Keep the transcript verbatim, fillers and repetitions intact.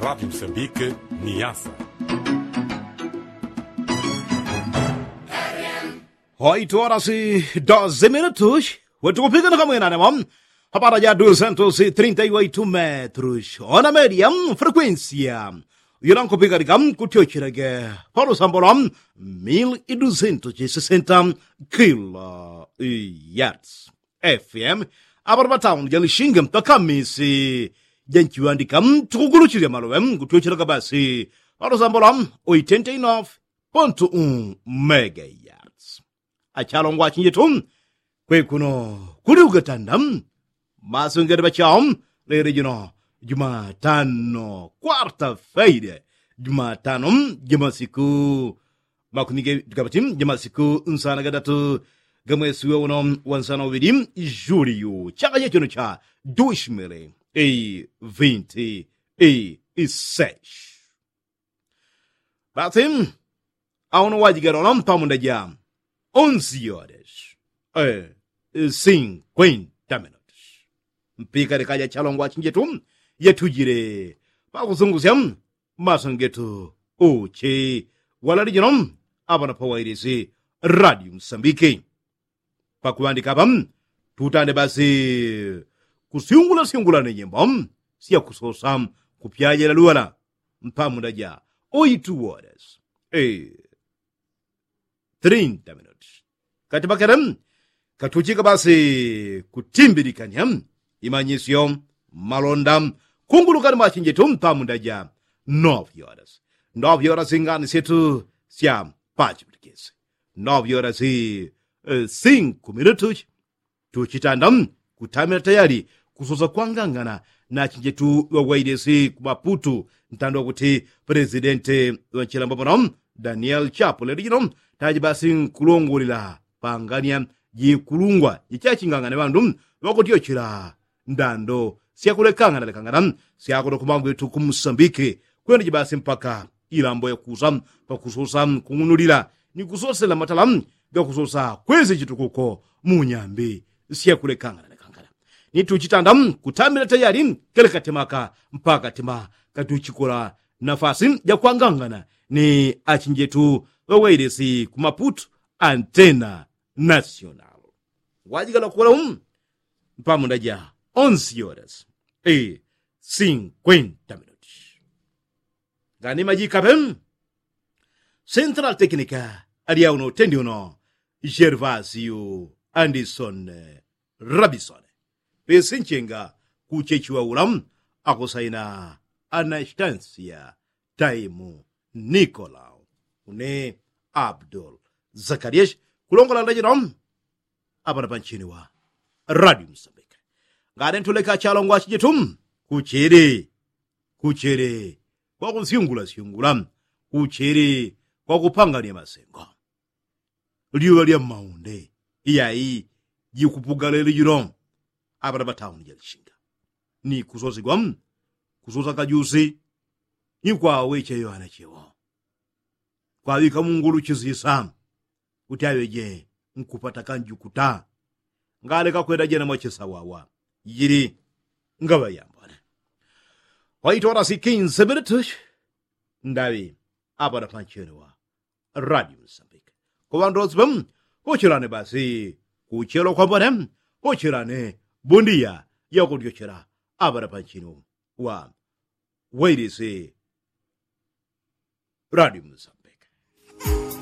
Rati msambike ni yasa. Hoitu orasi doze minutus wetukupikana kamwena nemo. Hapara ja dusentus trinta i waitu metrus ona media frekuensia. Yulankupikanika kutyochilage palusambola mil idusentus sesenta kilo yards. Fm. Apara patauni ja lishinge mpaka misi ja nchiwandika tukuguluchilya malowe kutyochilage basi palusambola oitenta inof pontu u mega yards. Achalongwa achinjetu kwekuno kuli ugatanda. Masungete pachao lele jino jumatano kwarta faide jumatano jamasiku makumi ge tukapati jamasiku nsana gatatu gamwesi weuno wansana uvili juliu chaka chechono cha dushimili e vinti e iseshi. Basi auno wajigalona mpamunda ja onsi yores sinkwenta minutus mpika likaja chalongwa achinjetu yatujile pakusungusya maso ngetu uchi walali jino apana pawailisi radio msambiki. Pakuŵandika apa tutande basi kusyungulasyungula ni nyimbo syakusosa kupyajela luŵala mpamunda ja oitu woles trinta minuti. Kati pakele katuchika basi kutimbilikanya imanyisyo malonda kungulukani mwachinjetu mpamunda ja novyoles. Novyoles ngani syetu sya pachipitikisi novyoles sinkumilutuchi tuchitanda kutamila tayali kusosa kwangangana na achinjetu ŵawailesi ku maputu ntando wakuti pelesidenti ŵa nchilambo pano daniel chapo lelo jino taji basi nkulongolela pangania jikulungwa jichachingangana ŵandu ŵakutyochela ndando syakulekangana lekangana syakuno kumangwetu ku musambike kwenda jibasi mpaka ilambo yakusa pakusosa kung'unulila ni kusosela matala gakusosa kwezi chitukuko mu nyambi syakulekangana lekangana. Ni tuchitanda kutambila tayali kele katemaka mpaka katima katuchikola nafasi jakwangangana ni achinjetu ŵawailesi ku maputu antena nasional. Wajikala kuwala umu mpamunda ja onsi yoras e sinkwenta minuti. Ngani majikape central teknika alyauno tendi uno gervasio andison rabisone pesi nchenga kuchechiwa ula akusaina anastansia taimu nikolau une abdul zakarias kulongola ndajino apana panchini wa radio musambika. Ngane ntuleka chalongwa chijitu kuchili kuchili kwakusyungulasyungula kuchili kwakupangania masengo lyuŵa lya mmaunde iyai jikupuga lelo jino apana patauni jalishinga ni kusosigwa kusosa kajusi ni kwaweche yohana chewo kwaŵika mungulu chisisa kuti aŵeje nkupata kanjukuta ngaleka kwenda jena mwachisawawa jili ngaŵa yambone. Waitwala sikinse minutus ndaŵi apana pancheni wa radio msambika kuŵandu wonse pam pocherane basi kuchelo kwambone pocherane bundiya yakutyochela apana pancheni wa wailisi radio msambika.